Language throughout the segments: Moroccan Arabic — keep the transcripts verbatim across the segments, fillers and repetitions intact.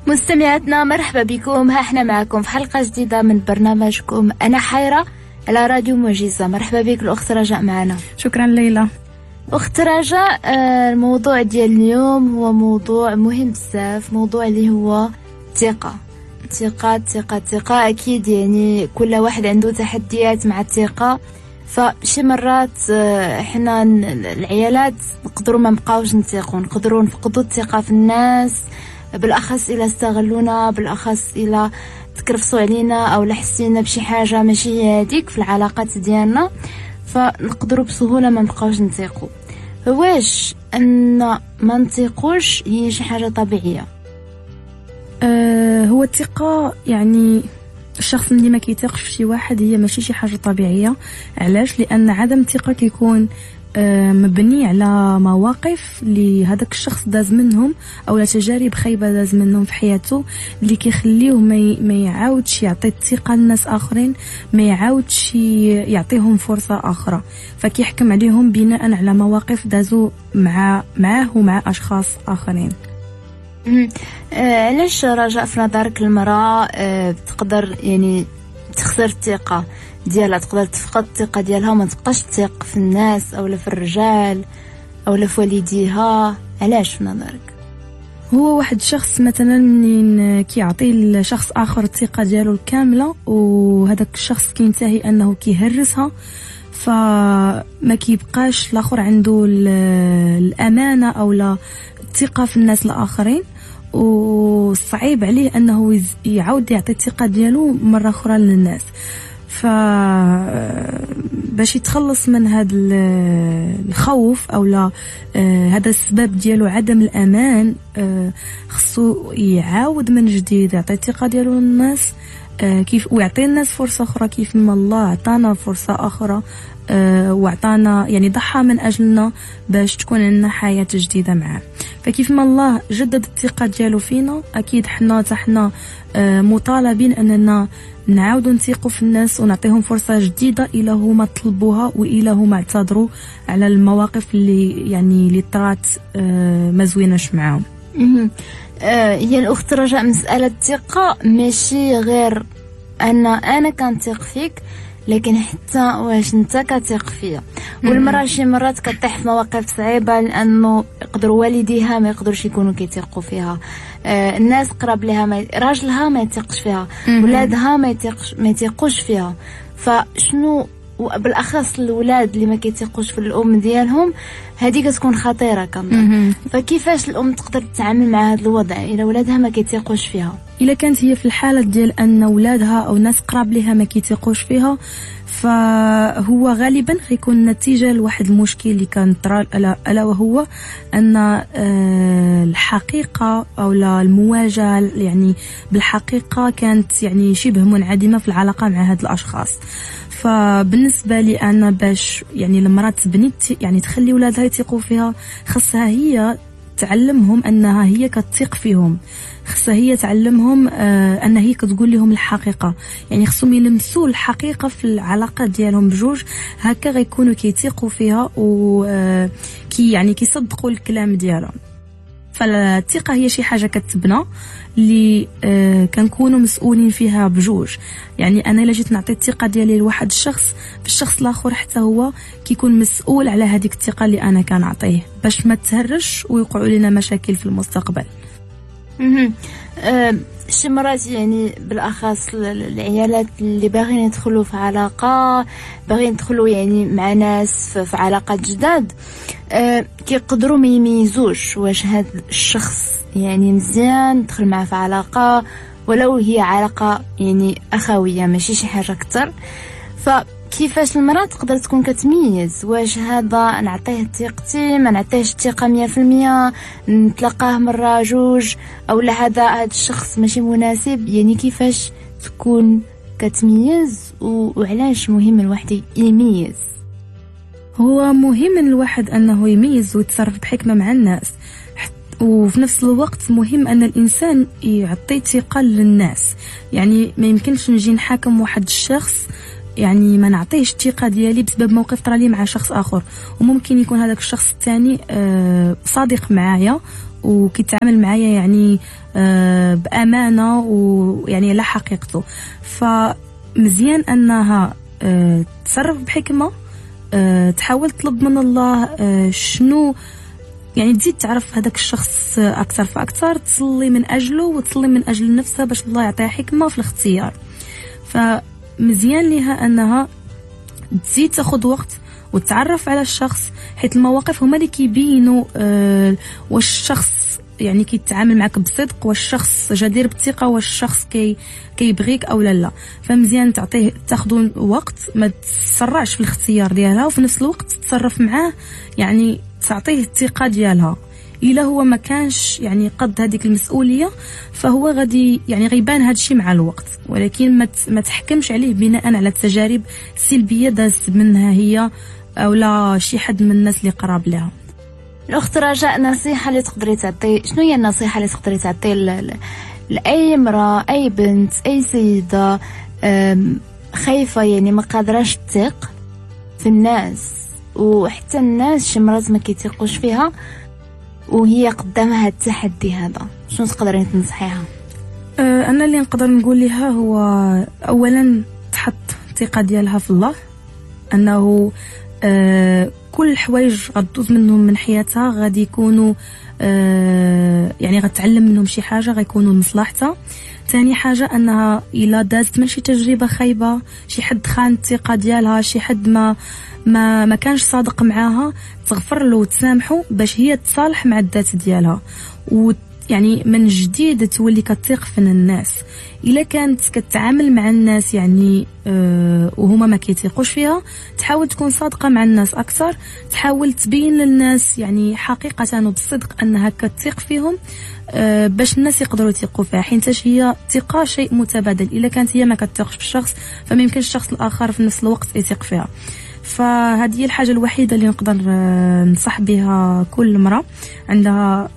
مستمعاتنا مرحبا بكم، ها احنا معكم في حلقة جديدة من برنامجكم أنا حيرة على راديو معجزة. مرحبا بك الأخت رجاء معنا. شكرا ليلى. أخت رجاء، الموضوع ديال اليوم هو موضوع مهم بزاف، موضوع اللي هو الثقة. الثقة الثقة الثقة أكيد يعني كل واحد عنده تحديات مع الثقة، فشي مرات حنا العيالات نقدروا ما نبقاوش نثقوا، نقدروا نفقدوا الثقة في الناس، بالاخص الى استغلونا، بالاخص الى تكرفصوا علينا او حسينا بشي حاجة ماشي هي هذيك في العلاقات ديالنا، فنقدروا بسهولة ما نبقاوش نثقوا. واش ان ما نثقوش هي شي حاجة طبيعية؟ أه هو الثقة، يعني الشخص اللي ما كيثقش في شي واحد هي ماشي شي حاجة طبيعية. علاش؟ لان عدم الثقة كيكون مبني على مواقف اللي هذاك الشخص داز منهم او تجارب خايبة داز منهم في حياته، اللي كيخليوه ما يعاودش يعطي الثقة للناس اخرين، ما يعاودش يعطيهم فرصة اخرى، فكيحكم عليهم بناء على مواقف دازوا مع معاه ومع اشخاص اخرين. علاش رجاء في نظرك المراة تقدر يعني تخسر الثقة ديالها، تقدر تفقد الثقة ديالها وما تبقاش تثق في الناس او في الرجال او في والديها؟ علاش في نظرك؟ هو واحد الشخص مثلا منين كيعطي لشخص اخر الثقة ديالو الكاملة وهذاك الشخص كينتهي انه كيهرسها، فما كيبقاش الاخر عنده الامانة او لا الثقة في الناس الاخرين، وصعيب عليه انه يعاود يعطي الثقة ديالو مرة اخرى للناس. ف باش يتخلص من هذا الخوف او لا هذا السبب ديالو عدم الامان، خصو يعاود من جديد يعطي الثقة ديالو للناس كيف، ويعطي الناس فرصة اخرى كيف ما الله عطانا فرصة اخرى وعطانا يعني ضحى من اجلنا باش تكون عندنا حياة جديدة معاه. فكيف ما الله جدد الثقة ديالو فينا، اكيد حنا حتى حنا مطالبين اننا نعاودوا نثيقوا في الناس ونعطيهم فرصة جديدة الى هما طلبوها والى هما اعتذروا على المواقف اللي يعني اللي طرات ما زويناش معاهم. هي الاخت رجاء، مسالة الثقة ماشي غير ان انا كنثق فيك، لكن حتى واش انت كتثق فيا. والمراة شي مرات كطيح في مواقف صعيبة لانه يقدروا والديها ما يقدروش يكونوا كيثقوا فيها، آه الناس قرب لها ما راجلها ما يثقش فيها، ولادها ما يثقش ما يثقوش فيها. فشنو بالاخص الاولاد اللي ما كيثقوش في الام ديالهم، هذه كتكون خطيرة كنظن. فكيفاش الام تقدر تتعامل مع هذا الوضع الا ولادها ما كيثقوش فيها؟ الا كانت هي في الحالة ديال ان ولادها او ناس قراب لها ما كيثقوش فيها، فهو غالبا غيكون نتيجة لواحد المشكل اللي كان طرا، الا وهو ان الحقيقة او المواجهة يعني بالحقيقة كانت يعني شبه منعدمة في العلاقة مع هاد الاشخاص. فبالنسبه لي انا باش يعني المراة تبني يعني تخلي ولادها يثقوا فيها، خصها هي تعلمهم انها هي كتثق فيهم، خصها هي تعلمهم آه ان هي كتقول لهم الحقيقة، يعني خصهم يلمسوا الحقيقة في العلاقة ديالهم بجوج، هكا غيكونوا كيثقوا فيها و آه كي يعني كيصدقوا الكلام ديالها. فالثقه هي شي حاجة كتبنى اللي آه كنكونوا مسؤولين فيها بجوج. يعني انا الا جيت نعطي الثقة ديالي لواحد الشخص، فالشخص الاخر حتى هو كيكون مسؤول على هذيك الثقة اللي انا كنعطيه باش ما تهرش ويوقعوا لنا مشاكل في المستقبل. اها شي مرات يعني بالاخص العيالات اللي باغيين يدخلوا في علاقة، باغيين يدخلوا يعني مع ناس في علاقات جداد، أه كيقدروا ما يميزوش واش هذا الشخص يعني مزيان ندخل معاه في علاقة، ولو هي علاقة يعني اخويه ماشي شي حاجة اكثر. فكيفاش المراة تقدر تكون كتميز واش هذا نعطيه ثقتي ما نعطيهش الثقة مية في المية، نتلاقاه مرة جوج، او لا هذا هذا الشخص ماشي مناسب؟ يعني كيفاش تكون كتميز وعلاش مهم الواحد يميز؟ هو مهم الواحد انه يميز ويتصرف بحكمه مع الناس، وفي نفس الوقت مهم ان الانسان يعطي ثقة للناس. يعني ما يمكنش نجي نحاكم واحد الشخص يعني ما نعطيهش الثقة ديالي بسبب موقف طرا لي مع شخص اخر، وممكن يكون هذاك الشخص الثاني صادق معايا وكيتعامل معايا يعني آه بامانه ويعني على حقيقته. فمزيان انها آه تصرف بحكمه، آه تحاول تطلب من الله آه شنو يعني تزيد تعرف هذاك الشخص اكثر فاكثر، تصلي من اجله وتصلي من اجل نفسها باش الله يعطيها حكمه في الاختيار. فمزيان لها انها تزيد تاخذ وقت وتعرف على الشخص، حيت المواقف هما اللي كيبينوا آه واش الشخص يعني كيتعامل معك بصدق، واش الشخص جدير بالثقة، واش الشخص كي كيبغيك او لا لا. فمزيان تعطيه تاخذ وقت، ما تسرعش في الاختيار ديالها، وفي نفس الوقت تتصرف معاه يعني تعطيه الثقة ديالها. الا هو ما كانش يعني قد هذيك المسؤولية فهو غادي يعني غيبان هذا الشيء مع الوقت، ولكن ما ما تحكمش عليه بناء على التجارب السلبية دازت منها هي او لا شي حد من الناس اللي قراب لها. الاخت رجاء، نصيحة اللي تقدري تعطي، شنو هي النصيحة اللي تقدري تعطي لاي امراة، اي بنت، اي سيده خايفة يعني ما قادراش تثق في الناس، وحتى الناس شي مرات ما كيثيقوش فيها وهي قدامها التحدي هذا، شنو تقدرين تنصحيها؟ انا اللي نقدر نقول لها هو اولا تحط الثقة ديالها في الله، انه أه كل الحوايج غدوز منهم من حياتها غادي يكونوا أه يعني غتعلم منهم شي حاجة غيكونوا لمصلحتها. ثاني حاجة انها الا دازت من شي تجربه خايبة، شي حد خان الثقة ديالها، شي حد ما ما ما كانش صادق معاها، تغفر له وتسامحه باش هي تصالح مع الذات ديالها، ويعني من جديد تولي كتثق في الناس. الا كانت كتعامل مع الناس يعني أه وهما ما كيثيقوش فيها، تحاول تكون صادقة مع الناس اكثر، تحاول تبين للناس يعني حقيقة وبالصدق انها كتثق فيهم أه باش الناس يقدروا يثيقوا فيها، حيت هي الثقة شيء متبادل. الا كانت هي ما كتثقش في الشخص فما يمكنش الشخص الاخر في نفس الوقت يثق فيها. فهذه هي الحاجة الوحيدة اللي نقدر ننصح بها كل امراة عندها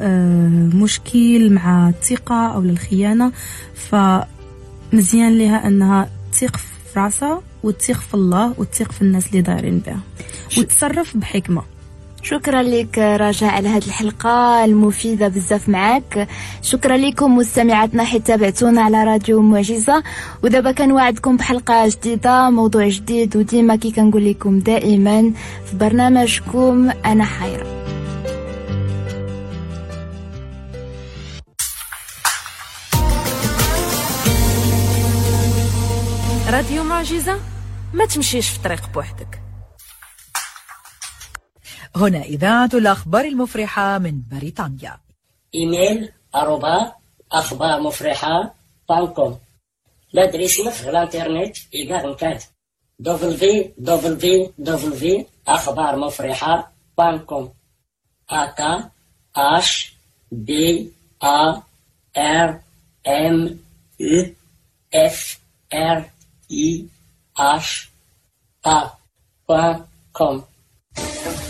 مشكل مع الثقة او الخيانة. فمزيان لها انها تثق في راسها وتثق في الله وتثق في الناس اللي دايرين بها وتصرف بحكمه. شكرا لك رجاء على هذه الحلقة المفيدة بزاف معاك. شكرا لكم مستمعاتنا حيت تابعتونا على راديو معجزة، ودابا كنوعدكم بحلقة جديدة، موضوع جديد، وديما كي كنقول لكم دائما في برنامجكم أنا حيرة. راديو معجزة، ما تمشيش في طريق بوحدك. هنا إذاعة الأخبار المفرحة من بريطانيا. إيميل أروبا أخبار مفرحة point com. l'adresse في الانترنت إيغار مكات دبليو دبليو دبليو أخبار مفرحة point com. أكا H B A R M U F R I H A point com.